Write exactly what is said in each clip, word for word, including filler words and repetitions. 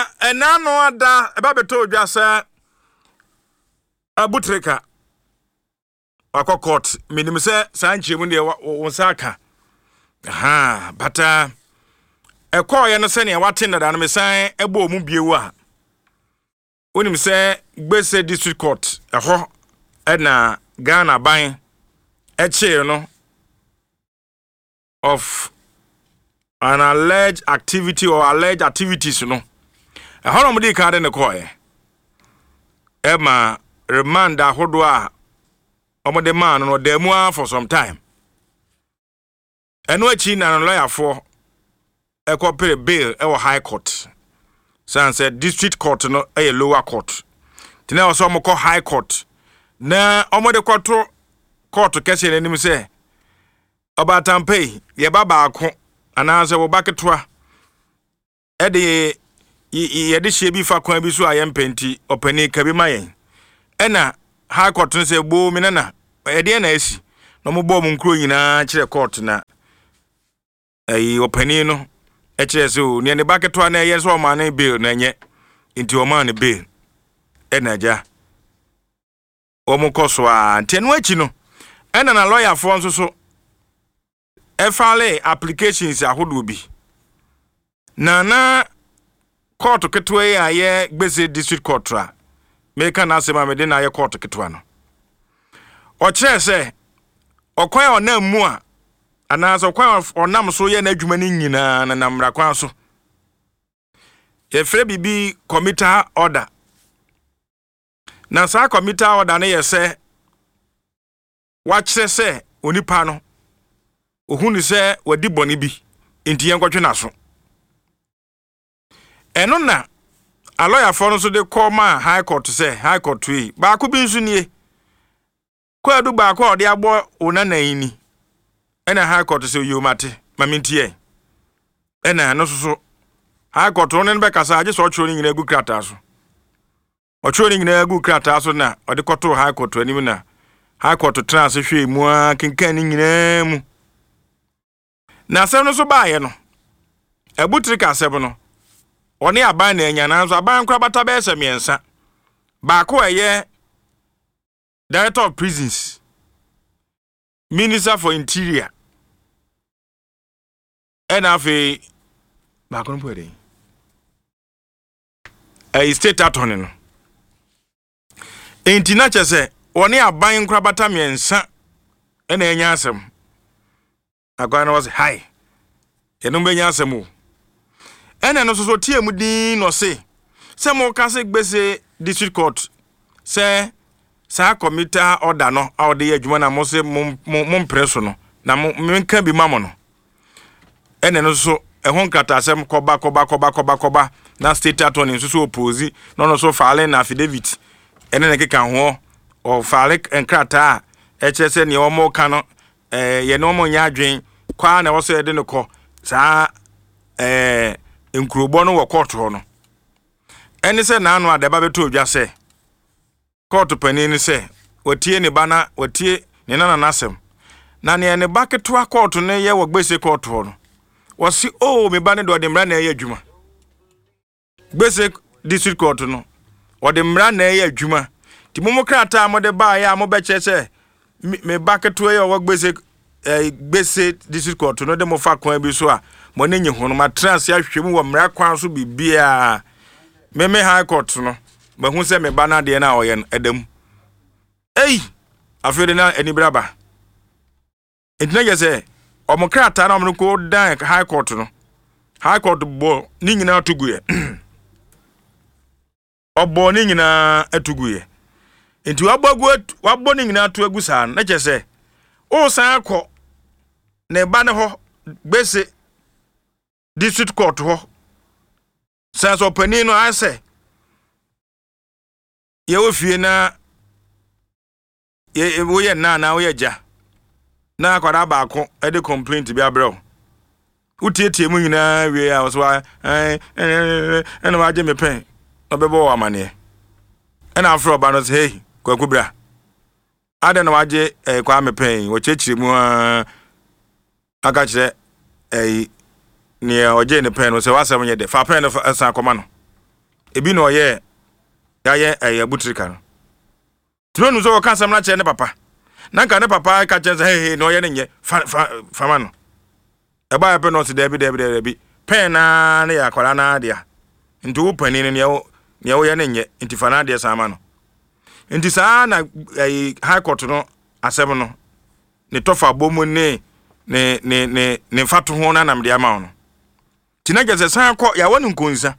Na ɛna no ada ɛba bɛtɔ odwa sɛ Abu Trica wakɔ court. Menim sɛ saa nkyerɛmu deɛ wo nsa aka ha, but ɛkɔɔyɛ no sɛnea wate dada no, mesan ɛbɔ mu bio a, wonim sɛ Gbese District Court ɛhɔ ɛna Ghana ban ɛkyee no of an alleged activity or alleged activities no. Ɛhɔ na wɔde kan de ne kɔɔɛ, ɛma remand ahodoɔ a wɔde maa no no ɔda mu ara for some time. Ɛno akyi na no lɔyafoɔ ɛkɔpere bail ɛwɔ High Court, san sɛ District Court no ɛyɛ lower court, nti na ɛwɔ sɛ wɔkɔ High Court na wɔde kɔto court kɛseɛ n'anim sɛ ɔbaatampa yi, yɛba baako anaasɛ wɔba ketewa ɛde yɛde hyɛ bi fa kwan bi so a yɛmpɛ, nti ɔpanin ka bi ma yɛn. Ɛna High Court no sɛ boo mi nana, ɛdeɛ na asi na wɔbɔ wɔn nkuro nyinaa kyerɛ court, na ɛyi ɔpanin no ɛkyerɛ sɛ o nea ne ba ketewa na ɛyɛ sɛ ɔmaa ne bail na ɛnyɛ, nti ɔmaa ne bail. Ɛna agya wɔn kɔ so a, nti ɛno akyi no ɛna na lɔyafoɔ nso so ɛfile applications ahodoɔ bi na na court ketewa yi a yɛ Gbese District Court a meka n'asɛm a mede na ayɛ court ketewa no, ɔkyerɛ sɛ ɔkwan a ɔnam mu a anaasɛ ɔkwan a ɔnam so yɛ n'adwuma no nyinaa na nam mmara kwan so. Yɛfrɛ biribi committal order, na saa committal order no yɛ sɛ wakyerɛ sɛ onipa no ohun sɛ wadi bɔne bi nti yɛnkɔtwe n'aso. Ɛno na alɔyafoɔ no nso de kɔ maa High Court sɛ High Court yi baako bi nso nie, kwaadu baako a ɔde abɔ wo nana yi ni. Ɛna High Court sɛ oyi mate ma mentie. Ɛna ɛno nso so High Court no ne no bɛkasa agye sɛ ɔtwerɛ no nyinaa gu krataa so. Ɔtwerɛ no nyinaa gu krataa so na ɔde kɔtoo High Court anim, na High Court tena ase hwɛɛ mu a kenkan ne nyinaa mu. Na asɛm no nso baeɛ no, Abu Trica asɛm no, ɔne aban na anya, nanso aban nkorabata bɛyɛ sɛ mmiɛnsa. Baako a ɛyɛ Director of Prisons, Minister for Interior, ɛna afei baako no po ɛdɛn, ɛyɛ State Attorney no. Enti na kyerɛ sɛ wɔne aban nkorabata mmiɛnsa ɛna anya asɛm. Akwan no wɔ sɛ hai yɛnom bɛnya asɛm o. Ɛna no nso so tie mu din na ɔse sɛ moka sɛ Gbese District Court sɛ saa committal order no a ɔde yɛ adwuma na mo sɛ mompere so no na menka bi ma mo no. Ɛna no nso ɛho nkrataasɛm kɔba kɔba kɔba kɔba kɔba, na State Attorney nso so oppose, na ɔno nso file na affidavit ɛne ne keka ho. Ɔfile nkrataa a ɛkyerɛ sɛ nea wɔn ka no ɛɛ yɛne wɔn nyɛ adwen kwaa na ɛwɔ sɛ yɛde no kɔ saa ɛɛ nkurobɔ no wɔ court hɔ no. Ɛne sɛ n'ano adaba bɛtɔ odwa sɛ court panin no sɛ watie ne ba na watie ne nana n'asɛm, na nea ne ba ketewa court no yɛ wɔ Gbese court hɔ no, wɔsi o me ba no de ɔde mmara na ɛyɛ adwuma. Gbese District Court no, ɔde mmara na ɛyɛ adwuma, nti mo mo krataa a mode baeɛ a mobɛkyerɛ sɛ me ba ketewa yi a ɔwɔ Gbese ɛɛ Gbese District Court no de mo fa kwan bi so a mo ani nye ho no, matena ase ahwehwɛ mu wɔ mmara kwan so biribiara. Meme High Court no mahu sɛ me ba no adeɛ no a ɔyɛ no ɛda mu. Ei, afei de na anibere aba, nti na kyerɛ sɛ ɔmo krataa na ɔmo kɔ dan High Court no, High Court bɔ ne nyinaa to guiɛ. Ɔbɔ ne nyinaa ato guiɛ, nti wabɔ agu, wabɔ ne nyinaa to agu saa no, na kyerɛ sɛ ɔresan akɔ ne ba ne hɔ Gbese District Court hɔ san sɛ ɔpanin no ayɛ sɛ yɛwɔ fie na yɛ woyɛ nna anaa woyɛ gya na akwadaa baako de complaint bi abrɛ wo, wotietie mu nyinaa wie a, wɔsɛ wa ɛn ɛna wagye me pɛn na ɔbɛbɔ wɔ amaneɛ. Ɛna afrɛ ɔba no sɛ, "Hey, Kwaku, bra. Adɛn na wagye ɛɛ Kwame pɛn?" Wɔkyerɛkyerɛ mu aa aka kyerɛ ɛyi nea ɔgye ne pɛn no sɛ wasɛm nyɛ dɛ, fa pɛn no san kɔma no. Ebi na ɔyɛ yɛayɛ ɛyɛ abutirika no. Tumi nu sɛ wɔka asɛm no akyerɛ ne papa. Na nka ne papa ka kyerɛ sɛ hey hey na ɔyɛ ne nyɛ fa fa fama no. Ɛbaa pɛ na ɔsi dɛbi dɛbi dɛbi pɛn naa ne yɛ akwadaa naa dea. Nti wo panin no nea wo nea woyɛ ne nyɛ nti fa n'adeɛ san ma no. Nti saa na ɛyi High Court no asɛm no ne tɔfa bɔ mu ne ne ne ne ne mfatoho no anam de ama wo no. Nti na kyerɛ sɛ san kɔ yɛawɔ no nkonsa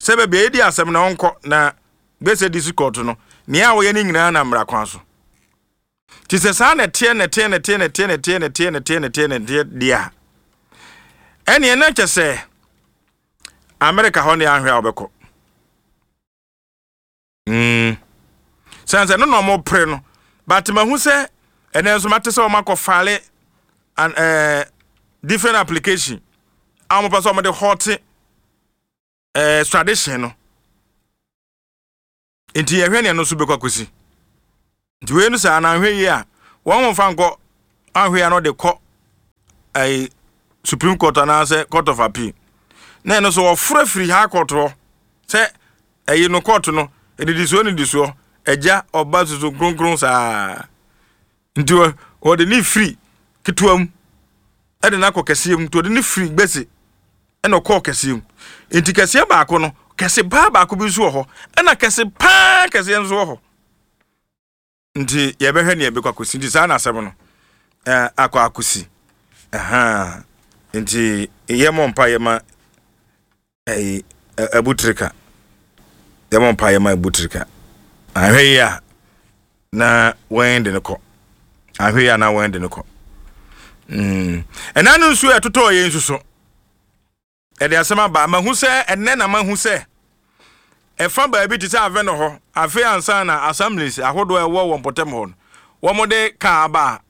sɛ baabi a yɛdi asɛm na ɔnkɔ na Gbese District Court no nea a wɔyɛ no nyinaa na mmara kwan so. Nti sɛ saa na ɛteɛ na ɛteɛ na ɛteɛ na ɛteɛ na ɛteɛ na ɛteɛ na ɛteɛ na ɛteɛ na ɛteɛ deɛ a, ɛneɛ na kyɛ sɛ America hɔ ne ahwɛ a wɔbɛkɔ. Mm. Sɛn sɛ no na ɔmo pere no, but mahu sɛ ɛnɛ nso mate sɛ ɔmo akɔ file an ɛɛ different application a ɔmo pɛ sɛ ɔmo de halt ɛɛ extradition no. Nti yɛhwɛ nea no nso bɛkɔ akɔsi. Nti wei no sɛ anahwɛ yi a wɔn mo fa nkɔ ahwɛ a no de kɔ ɛyi Supreme Court anaasɛ Court of Appeal, na ɛno nso wɔforo afiri High Court hɔ sɛ ɛyi no court no edidisoɔ nidisoɔ, Agya, Ɔba, Susu Kronkron saa. Nti wɔde ne firi ketewa mu ɛde no akɔ kɛseɛ mu. Nti wɔde ne firi Gbese ɛna ɔkɔɔ kɛseɛ mu. Nti kɛseɛ baako no, kɛse paa baako bi nso wɔ hɔ, ɛna kɛse paa kɛseɛ nso wɔ hɔ. Nti yɛbɛhwɛ nea ɛbɛkɔ akɔsi. Nti saa na asɛm no ɛɛ akɔ akɔsi ɛhan. Nti yɛmɔ mpa yɛma ɛyi abutirika, yɛmɔ mpa yɛma abutirika. Ahwɛ yi a na wɔn de no kɔ, ahwɛ yi a na wɔn de no kɔ. mm ɛna no nso ɛtotɔ yɛn nso so ɛde asɛm aba. Mahu sɛ ɛnɛ na mahu sɛ ɛfa baabi te sɛ Avenor hɔ. Afei ansa na assemblies ahodoɔ a ɛwɔ wɔn mpɔtam hɔ no, wɔn de kaa aba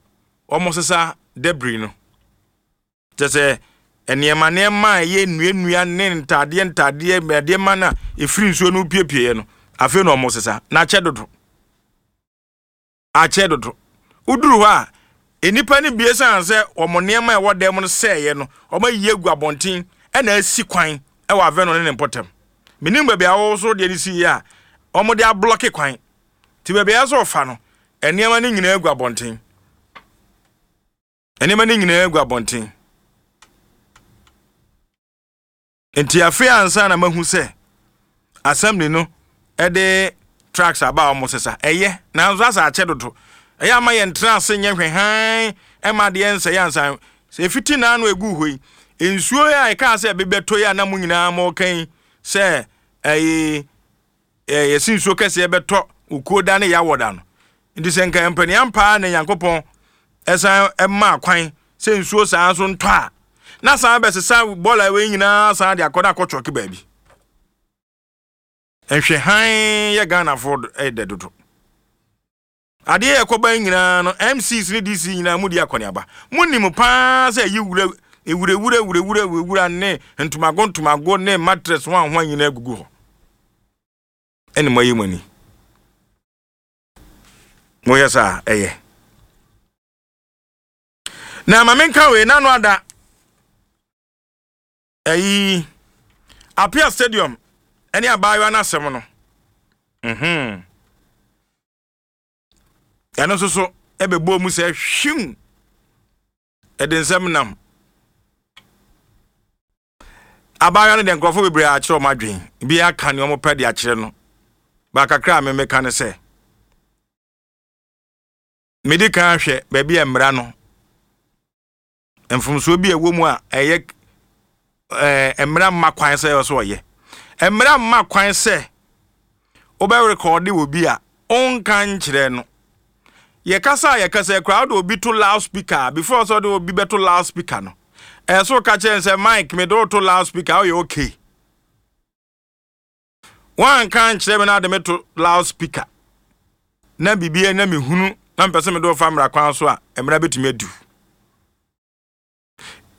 a wɔn sesa debris no, kyɛ sɛ nneɛma nneɛma a ɛyɛ nnuannua ne ntaadeɛ ntaadeɛ nneɛma no a ɛfiri nsuo no piepieɛ no, afei na wɔn sesa na akyɛ dodo, akyɛ dodo. Woduru hɔ a, nnipa no bie san sɛ wɔn nneɛma a ɛwɔ dan mu no sɛɛyɛ no, wɔn ayi agu abɔnten ɛna asi kwan ɛwɔ Avenor ne ne mpɔtam. Menim baabi a wɔwɔ so deɛ no si yie a wɔn de ablocke kwan te baabi a ɛsɛ ɔfa no. Nneɛma no nyinaa agu abɔnten, nneɛma no nyinaa agu abɔnten. Nti afei ansa na mahu sɛ assembly no ɛde trucks aba a wɔn sesa. Ɛyɛ, nanso asa akyɛ dodo. Ɛyɛ ama yɛn tena ase nyɛ hwɛ hann ɛma adeɛ nsɛ yɛ ansa sɛ efiti n'ano egu hɔ yi. Nsuo a ɛkaa sɛ ɛbɛbɛtɔ yi a na mo nyinaa mo kan sɛ ɛyi ɛyɛ yɛsi nsuo kɛseɛ bɛtɔ okuo da ne yawɔ da no. Nti sɛ nka mpania paa na Nyankopɔn ɛsan ɛma kwan sɛ nsuo saa nso ntɔ a, na san bɛsesa bɔɔla wei nyinaa san de akɔ na akɔtwɔke baabi. Nhwɛ hann yɛ Ghanafoɔ ɛdɛ dodo. Adeɛ yɛ kɔba nyinaa no, M Cs ne D C nyinaa mu di akɔneaba. Mo nim paa sɛ ɛyi wura ewurawura wurawura wurawura ne ntomago ntomago ne mattress ho ahoa nyinaa gugu hɔ, ɛne mo ayi mo ani moyɛ saa. Ɛyɛ na ma menka wei nano ada ɛyi Apia Stadium ɛne abaayewa no asɛm no. mhm ɛno nso so ɛbɛbɔ mu sɛ hwim ɛde nsɛm nam. Abaayewa no deɛ, nkurɔfoɔ bebree akyerɛ ɔmo adwen bi aka nea ɔmo pɛ de akyerɛ no baakakra. A memeka ne sɛ mede kan hwɛ baabi a mmara no mfomsoɔ bi a ɛwɔ mu a ɛyɛ ɛɛ mmara mma kwan sɛ ɛwɔ so ɔyɛ. Mmara mma kwan sɛ wobɛrekɔɔde wɔ bi a ɔnka nkyerɛ no. Yɛkasa a yɛkasa koraa, wode obi to loud speaker. Before sɛ wode obi bɛto loud speaker no, ɛyɛ so ka kyerɛ sɛ, "Mike, mede wo to loud speaker, woyɛ okay?" Woanka nkyerɛ me na ade me to loud speaker na biribi na mehunu na mpɛ sɛ mede wo fa mmara kwan so a, mmara bɛtumi adu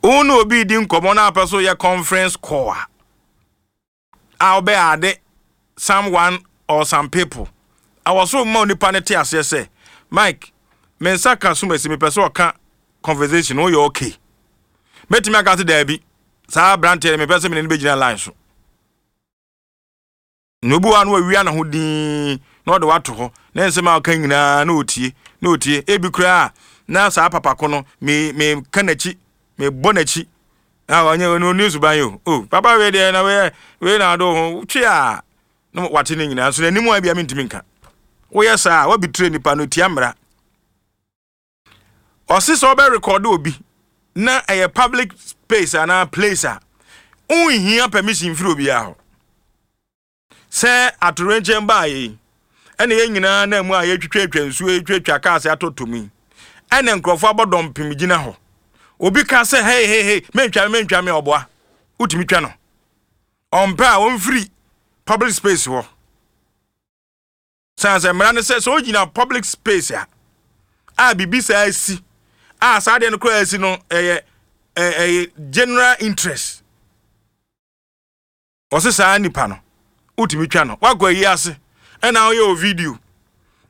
wo. Ne obi di nkɔmmɔ na apɛ so yɛ conference call a a wobɛyɛ ade someone or some people awɔ so ma onipa no te aseɛ sɛ, "Mike, me nsa ka so masi mepɛ sɛ ɔka conversation, woyɛ okay?" Mɛtumi aka sɛ daabi, saa aberanteɛ no mepɛ sɛ mene no bɛgyina line so. Na obi wa no wawia ne ho din na ɔde wato hɔ na nsɛm a ɔka nyinaa na ɔtie na ɔtie. Ebi koraa na saa papa ko no me me ka n'akyi, me bɔ n'akyi a ɔnyɛ ɔno oni suban yi o. O papa wei deɛ, na wei wei na ado ho twe a na wate ne nyinaa nso n'anim a bia mentumi nka. Woyɛ saa a, wabitire nipa no tia mmara. Ɔse sɛ ɔbɛ record obi na ɛyɛ public space anaa place a, wonhia permission firi obiara hɔ. Sɛ atorenkyɛn baa yi, ɛna yɛn nyinaa na mu a yɛtwitwatwa nsuo, yɛtwitwa cars atɔtɔ mu yi, ɛna nkurɔfoɔ abɔ dɔmpem gyina hɔ, obi ka sɛ, "Hei, hei, hei, mentwa me, mentwa me." Ɔboa, wotumi twa no. Ɔmpɛ a, ɔmfiri public space hɔ. San sɛ mmara no sɛ sɛ wogyina public space a a biribi saa asi a, saa adeɛ no koraa asi no, ɛyɛ ɛyɛ general interest. Ɔse saa nipa no wotumi twa no. Wakɔ ayi ase ɛna ɔyɛ o video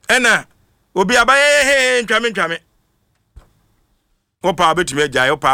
ɛna obi abayɛ, "Hee, ntwame, ntwame." Wopa wobɛtumi agyae wopa.